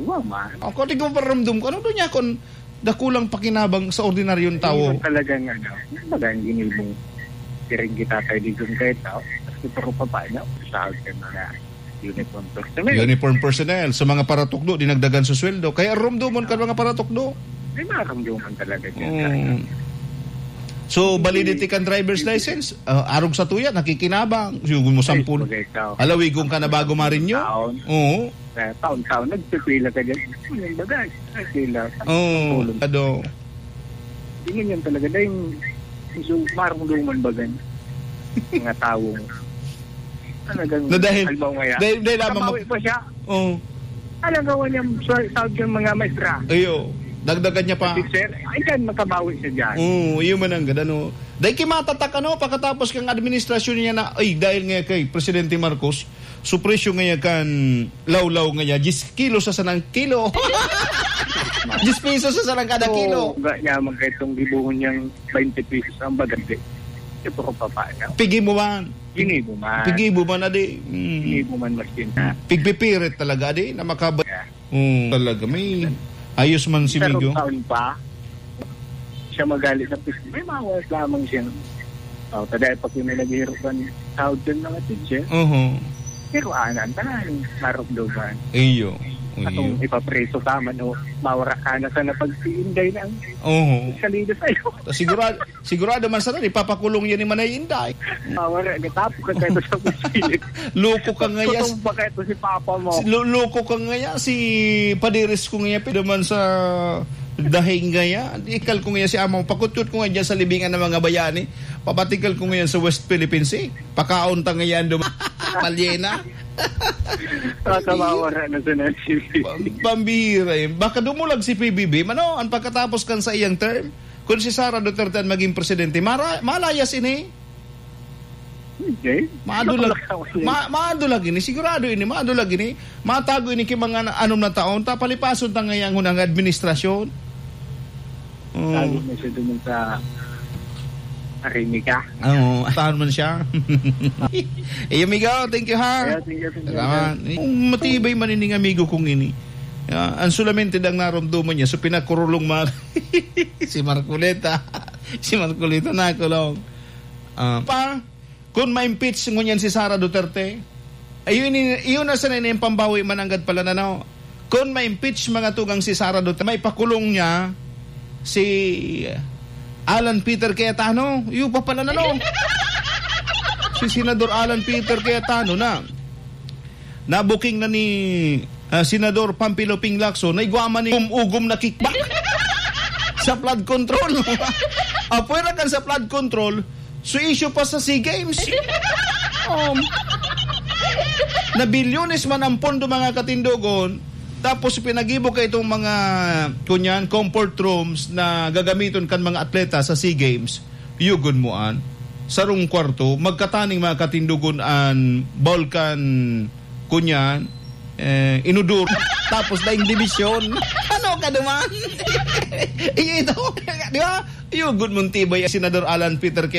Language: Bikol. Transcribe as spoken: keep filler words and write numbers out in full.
Wa man. Ako, di ko paramdam ko. Ano doon niya kung dakulang pakinabang sa ordinaryong tao? Hindi man talagang, ano, kumbaga, ang ginibong siring kita kay Digong kahit tao. Kasi puro pa pa, no? Sa akin, mga uniform personnel. Uniform personnel. Sa mga paratukdo, dinagdagan sa sweldo. Kaya rumdumon ka mga paratukdo. May maramdaman talaga dyan. Mm. So, validity kan driver's license, ah, arog sa tuya, nakikinabang. Yung mo Ay, sampul. Bagay ka. Alawigon ka na bago marinyo? Taon. Oo. Eh, taon-taon, nagpipila ka dyan. Ano yung bagay? Nagpila. Oo, Tulong. Ado. Hindi man yan talaga. Dahil, so, marungduman ba gan? Mga taong talagang Na dahil, halimbawa nga yan. Dahil, dahil lamang Kabawi mag- pa siya. Oo. Alam ka, wala niyang sa-, sahod yung mga maestra. Ayo. Dagdagan niya pa. Teacher, ay, dyan, makabawi siya dyan. Oo, yun man ang ganda, no? Dahil kimatatak, ano, pagkatapos kang administrasyon niya na, ay, dahil nga kay Presidente Marcos, so presyo nga kan lawlaw nga niya, diyes kilo sa sanang kilo. Diyes pesos sa sanang kada kilo. Oo, ga-, yaman kayo itong gibuhon niyang twenty pesos ang bagay. Ito ko pa paano? Pigi mo man. Pigi mo man. Pigi mo man, adi. Mm. Pigi mo man, mas yun na. Pigpipirit talaga, adi, na makaba-, Yeah. Oo, talaga. May ayos man si Migo. Taon pa, siya magalit sa pis-, may mawas lamang siya. Oh, tadaya pa kami naghihirap kan sahod kan mga teacher. Oho. Pero ana, ang tanan, marugdogan. Iyo. Atong Iyo. Ipapreso ka man, o mawara ka na sa napagsiinday na ang Oho. Salida sa'yo. Ta-, sigurado, Sigurado man sana, ipapakulong yan ni Manay Inday. Ah, wala. Natapo ka kayo sa pilit. Loko ka ngaya. Kutumba kayo si papa mo. Si, lo-, loko ka ngaya, si paderes ko ngaya, pwede man sa dahing ngaya. Di ikal ko ngaya si ama mo. Pakutyot ko nga dyan sa libingan ng mga bayani. Papatikal ko ngayon sa West Philippine Sea. Pakaon ta ngayon dum-, palyena. Baka mawara na sa nasib. Pa-, pambihira yun. Baka dumulag si P B B. Mano, ang pagkatapos kan sa iyang term, Kun si Sara Duterte an magin presidente, mara-, malayas ini. Hindi. Madulag. Madulag ini. Ma-, madulag ini. Sigurado ini. Madulag ini. Matago ini ki mga na-, anom na taon. Ta palipason ta ngayang hunang administrasyon. Oh. Tago na siya dun sa Arimiga. Oo. Taon man siya. Eh, amigo, thank you, ha? Kaya, thank you, thank you. Salamat. Kung matibay man ining amigo kong ini. Ah, ang solamente dang naromdoman niya, so pinakurulong mga si Marcoleta. Si Marcoleta nakulong. Ah, pa, kung ma-impeach ngunyan si Sara Duterte, ayun, i-, iyon na sana yung pambawi mananggad pala na, no? Kung ma-impeach mga tugang si Sara Duterte, may pakulong niya si Alan Peter Cayetano. Iyo pa pala na, no? Si Senador Alan Peter Cayetano na. Nabuking na ni, ah, Senador Pampilo Ping Lacson na igwa man ni um-, ugom na kickback sa flood control. Apwera kan sa flood control, so issue pa sa SEA Games. Um, na bilyones man ang pondo, mga katindogon, tapos pinagibo ka itong mga, kunyan, comfort rooms na gagamiton kan mga atleta sa SEA Games. Yugon mo an sarong kwarto, magkataning mga katindogon an balkan, kunyan, eh, inodor, tapos daing dibisyon. Ano ka naman? Iyo ito, di ba? Yugon mong tibay, Senador Alan Peter K.